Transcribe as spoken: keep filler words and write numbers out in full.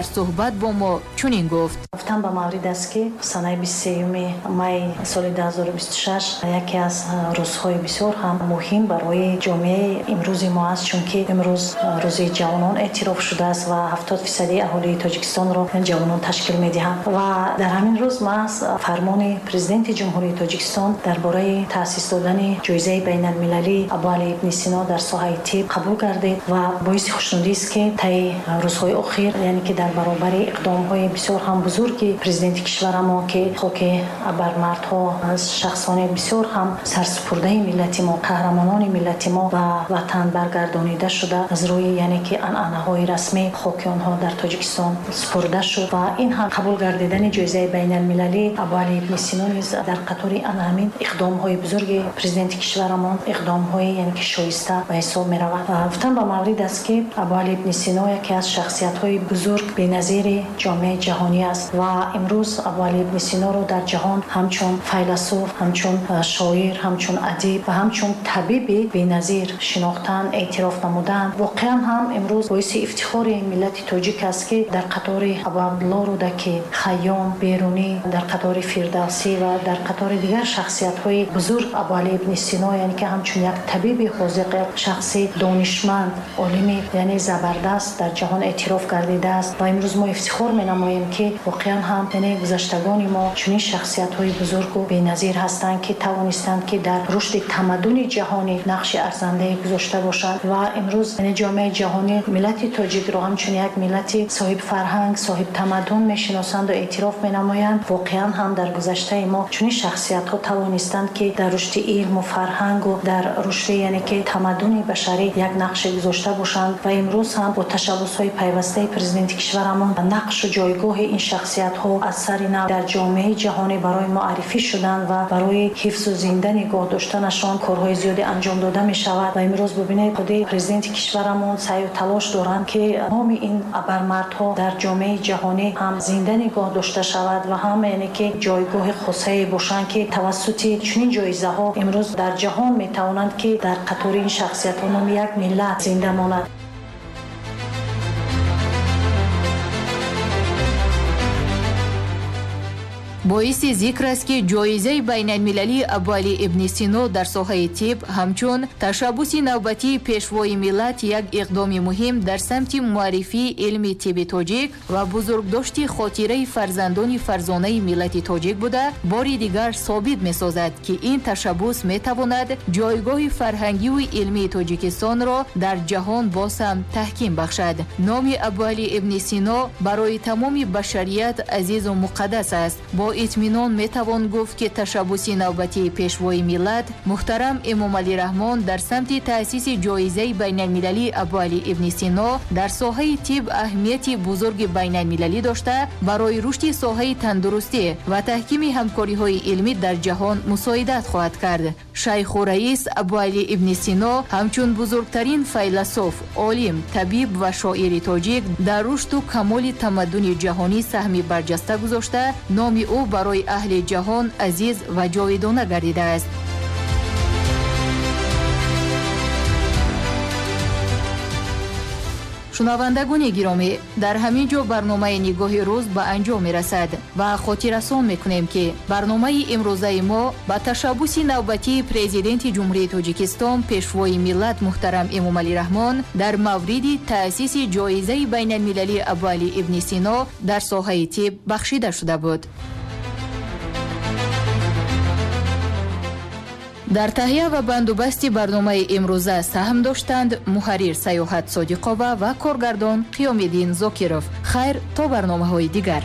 Суҳбат бо мо чунин гуфт: Гуфтан ба маврид аст, ки санаи бисту сеюми май соли ду ҳазору бисту шаш яке аз рӯзҳои бисёр ҳам муҳим барои ҷомеаи имрӯзи мо аст, чунки имрӯз рӯзи ҷавонон эътироф шудааст ва ҳафтод фисади аҳолии Тоҷикистонро ҷавонон ташкил медиҳанд. Ва дар ҳамин рӯз маҳз фармони Президенти Ҷумҳурии Тоҷикистон дар бораи таъсис додани ҷоизаи байналмилалии Абуалӣ ибни Сино дар соҳаи тиб қабул гардид. Ва боиси хушнудист, ки таи рӯзҳои охир, яъне ки дар баробари иқдомҳои бисёр ҳам бузурги президенти кишварамон, ки хоки абармардҳо, шахсони бисёр ҳам сарсупурдаи миллати мо, қаҳрамонони миллати мо ба ватан баргардонида шуда, аз рӯи яъне ки анъанаҳои расмӣ хоки онҳо дар Тоҷикистон супурда шуд, ва ин ҳам қабул гардидани ҷоизаи байналмилалии Абуалӣ ибни Сино низ дар қатори ана ҳамин иқдомҳои бузурги президенти кишварамон иқдомҳои яъне ки шоиста ба ҳисоб меравад. Гуфтан ба маврид аст, ки Абуалӣ ибни Сино яке аз шахсиятҳои бузург, беназири ҷомеаи ҷаҳонӣ аст ва имрӯз Абуалӣ ибни Синоро дар ҷаҳон ҳамчун файласуф, ҳамчун шоир, ҳамчун адиб ва ҳамчун табиби беназир шинохтан, эътироф намуданд. Воқеан ҳам имрӯз боиси ифтихори миллати тоҷик аст, ки дар қатори Абуабдулло Рӯдакӣ, Хайём, Берунӣ, дар қатори Фирдавсӣ ва дар қатори дигар шахсиятҳои бузург Абуалӣ ибни Сино, яъне ки ҳамчун як табиби ҳозиқ, як шахси донишманд, олими яъне забардаст дар ҷаҳон эътироф гардидааст. Ва имрӯз мо ифтихор менамоем, ки воқеан ҳам яъне гузаштагони мо чунин шахсиятҳои бузургу беназир ҳастанд, ки тавонистанд, ки дар рушди тамаддуни ҷаҳонӣ нақши арзандае гузошта бошанд. Ва имрӯз яъне ҷомеаи ҷаҳонӣ миллати тоҷикро ҳамчун як миллати соҳибфарҳанг, соҳибтамаддун мешиносанду эътироф менамоянд. Воқеан ҳам дар гузаштаи мо чунин шахсиятҳо тавонистанд, ки дар рушди илму фарҳангу дар рушди яъне ки тамаддуни башарӣ як нақше гузошта бошанд. Ва имрӯз ҳам бо ташаббусҳои пайвастаи президенти кишварамон нақшу ҷойгоҳи ин шахсиятҳо аз сари нав дар ҷомеаи ҷаҳонӣ барои муаррифӣ шуданд ва барои ҳифзу зинда нигоҳ доштанашон корҳои зиёде анҷом дода мешавад. Ва имрӯз бубинед, худи президенти кишварамон саъю талош доранд, ки номи ин абармардҳо дар ҷомеаи ҷаҳонӣ ҳам зинда нигоҳ дошта шавад ва ҳам яъне ки ҷойгоҳи хосае бошанд, ки тавассути чунин ҷоизаҳо имрӯз дар ҷаҳон метавонанд, ки дар қатори ин шахсиятҳо номи як миллат зинда монад. Боиси зикр аст, ки ҷоизаи байналмилалии Абуалӣ ибни Сино дар соҳаи тиб ҳамчун ташаббуси навбатии пешвои миллат як иқдоми муҳим дар самти муаррифии илми тибби тоҷик ва бузургдошти хотираи фарзандони фарзонаи миллати тоҷик буда, бори дигар собит месозад, ки ин ташаббус метавонад ҷойгоҳи фарҳангиву илмии Тоҷикистонро дар ҷаҳон боз ҳам таҳким бахшад. Номи Абуалӣ ибни Сино барои тамоми башарият азизу муқаддас аст. Бо итминон метавон гуфт, ки ташаббуси навбатии пешвои миллат муҳтарам Эмомалӣ Раҳмон дар самти таъсиси ҷоизаи байналмилалии Абуалӣ ибни Сино дар соҳаи тиб аҳамияти бузурги байналмилалӣ дошта, барои рушди соҳаи тандурустӣ ва таҳкими ҳамкориҳои илмӣ дар ҷаҳон мусоидат хоҳад кард. Шайху раис Абуалӣ ибни Сино ҳамчун бузургтарин файласуф, олим, табиб ва шоири тоҷик дар рушду камоли тамаддуни ҷаҳонӣ саҳми барҷаста гузошта, номи ӯ барои аҳли ҷаҳон азиз ва ҷовидона гардидааст. Шунавандагони гиромӣ, дар ҳамин ҷо барномаи «Нигоҳи рӯз» ба анҷом мерасад ва хотиррасон мекунем, ки барномаи имрӯзаи мо ба ташаббуси навбатии Президенти Ҷумҳурии Тоҷикистон, пешвои миллат муҳтарам Эмомалӣ Раҳмон дар мавриди таъсиси ҷоизаи байналмилалии Абуалӣ ибни Сино дар соҳаи тиб бахшида шуда буд. Дар таҳия ва бандубасти барномаи имрӯза саҳм доштанд муҳаррир Саёҳат Содиқова ва коргардон Қиёмиддин Зокиров. Хайр, то барномаҳои дигар.